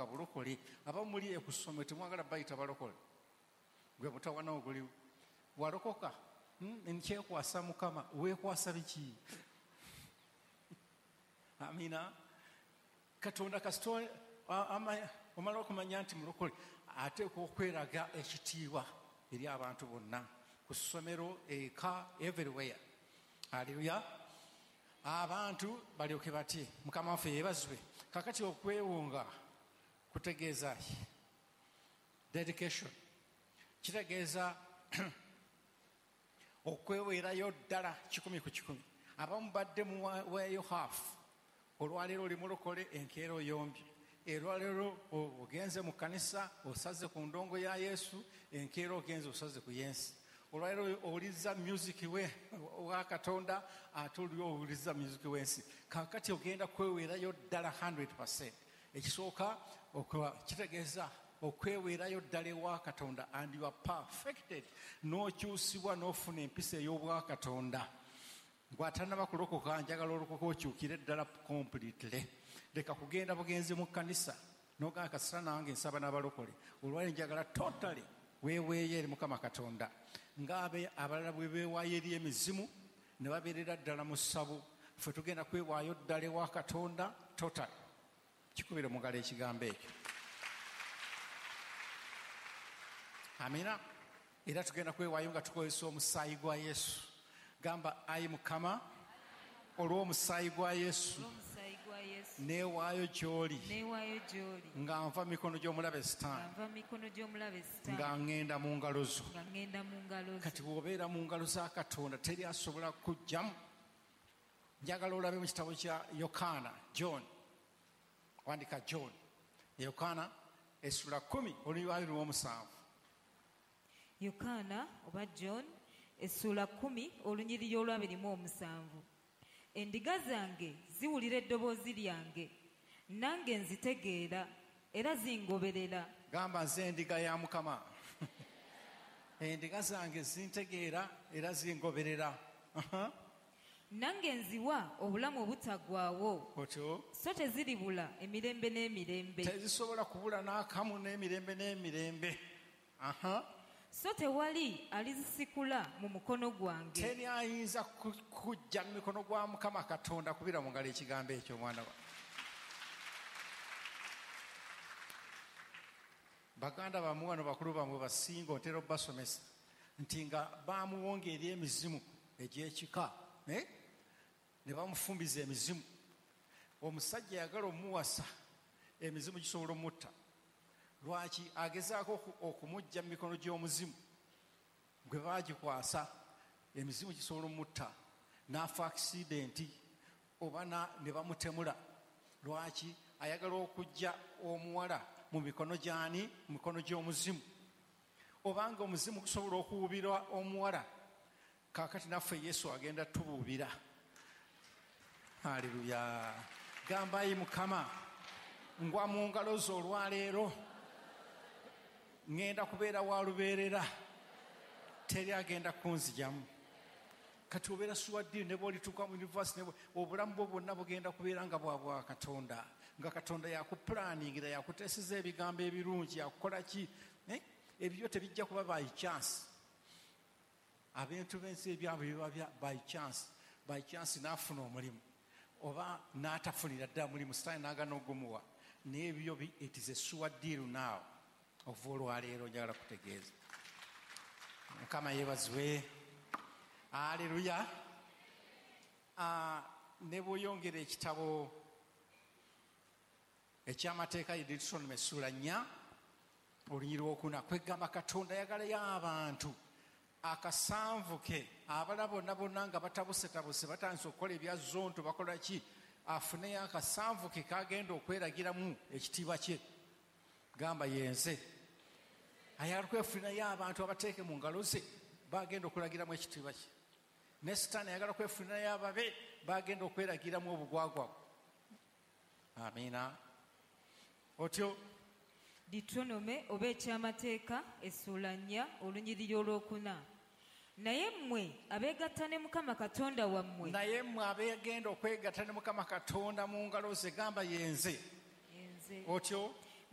Kulokoka bulokole. Abamu muli ekusomero temwagala bayita balokole, gwe mutawana oguliwo. Walokoka, nkyekwasa Mukama. Weekwasa biki? Amina. Katonda kasita omala okumanya nti mulokole, ateekwa okweraga ekitiibwa eri abantu bonna, ku ssomero, eka, everywhere. Aleluya. Abantu balyoke batye. Mukama waffe yeebazibwe. Kakati okwewunga kutegeeza ki? Dedication kitegeeza okweweerayo ddala 100 ku 100. Abamu badde muweeyo half. Olwaleero oli mulokole, enkeera oyombye. Olwaleero ogenze mu kkanisa, osaze ku ndongo ya Yesu, enkeera ogenze osaze ku yensi. Olwaleero owuliriza music we wa Katonda, ate oli owuliriza music w'ensi. Kaakati ogenda kweweerayo ddala 100%. Ekisooka kitegeeza okweweerayo ddala ewa Katonda, and you are perfected, n'okyusibwa n'ofuna empisa ey'obwakatonda. Gw'atannaba kulokoka, njagala olokoka okyukire ddala completely. Leka kugenda bugenzi mu kkanisa n'ogamba kasita nange nsaba n'abalokole. Olwaleero njagala totally weeweeyo eri Mukama Katonda, ng'abe abalala bwe beewaayo eri emizimu ne babeerera ddala mu ssabo. Ffe tugenda kwewaayo ddala ewa Katonda totally. Kikubire mu ngalo ekigambo ekyo. Amina. Era tugenda kwewaayo nga tukozesa omusaayi gwa Yesu. Gamba, ayi Mukama, olw'omusaayi gwa Yesu, Olw'omusaayi gwa Yesu, neewaayo gy'oli, neewaayo gy'oli, nga nva mu mikono gy'omulabe Sitaani, nga nva mu mikono gy'omulabe Sitaani, nga ŋŋenda mu ngalo zo. nga ŋŋenda mu ngalo zo. Kati bw'obeera mu ngalo za Katonda teri asobola kuggyamu. Njagala olabe mu kitabo kya Yokaana, John, wandika John, Yokaana essula 10 olunyiriri lw'omusanvu. Yokaana oba John essula 10 olunyiriri olw'abiri mu omusanvu. Endiga zange ziwulira eddoboozi lyange, nange nzitegeera era zingoberera. Gamba, nze endiga ya Mukama. Endiga zange zintegeera era zingoberera. Nange nziwa obulamu obutaggwaawo. Otyo. So teziribula emirembe n'emirembe. Tezisobola kubula n'akamu n'emirembe n'emirembe. So tewali alizisikula mu mukono gwange. Teri ayinza kujja mu mikono gwa Mukama Katonda. Kubira mu ngalo ekigambo ekyo, mwana wa. Baganda bammwe wano, bakulu bammwe basinga otera obbasomesa nti nga bamuwonga eri emizimu egy'ekika, ne bamufumbiza emizimu. Omusajja yagala omuwasa, emizimu gisobola omutta. Lwaki agezaako okumujja mu mikono gy'omuzimu gwe baagikwasa? Emizimu gisobola omutta n'afa akisidenti oba ne bamutemula. Lwaki ayagala okujja omuwala mu mikono gy'ani? Mu mikono gy'omuzimu. Obanga omuzimu gusobola okuwubira omuwala, kaakati naffe Yesu agenda tubuubira. Haleluya. Gamba, ayi Mukama, ngwa mu ngalo zo olwaleero, ŋŋenda kubeera wa lubeerera, teri agenda kunzijamu. Kati obeera suwaddiini ne bw'olituuka mu university, ne obulamu bwo bwonna bugenda kubeera nga bwa bwa Katonda, nga Katonda yakupulaningira, yakuteeseza ebigambo ebirungi, yakukola ki? Ebyo tebijja kuba by chance. Abantu b'ensi ebyabwe biba bya by chance. By chance n'afuna omulimu oba n'atafunira ddala mulimu, Sitaani n'agaana ogumuwa. Naye ebyo it is a sure deal now. Okuva olwaleero njagala kutegeeza. Mukama yeebazibwe. Aleluya. Ne bw'oyongera ekitabo eky'amateeka ye Deuteronomy essula 4 olunyiriri lwokuna, kwegamba Katonda ayagalayo abantu akasanvu ke, abalala bonna bonna nga batabusetabuse, batandise okukola ebya zonto, bakola ki, afuneyo akasanvu ke kagenda okweragiramu ekitiibwa kye. Gamba, yenze. Ayagala kwefunirayo abantu abateeke mu ngalo ze bagenda okulagiramu ekitiibwa kye. Ne Sitaani ayagala kwefunirayo ababe bagenda okweragiramu obugwagwa. Amiina. Otyo. Deuteronomy oba ekyamateeka essula 4 olunyiriri olwokuna. Naye mmwe abeegatta ne Mukama Katonda wammwe. Naye mmwe abeegenda okwegatta ne Mukama Katonda mu ngalo ze, gamba yenze. Yenze. Otyo.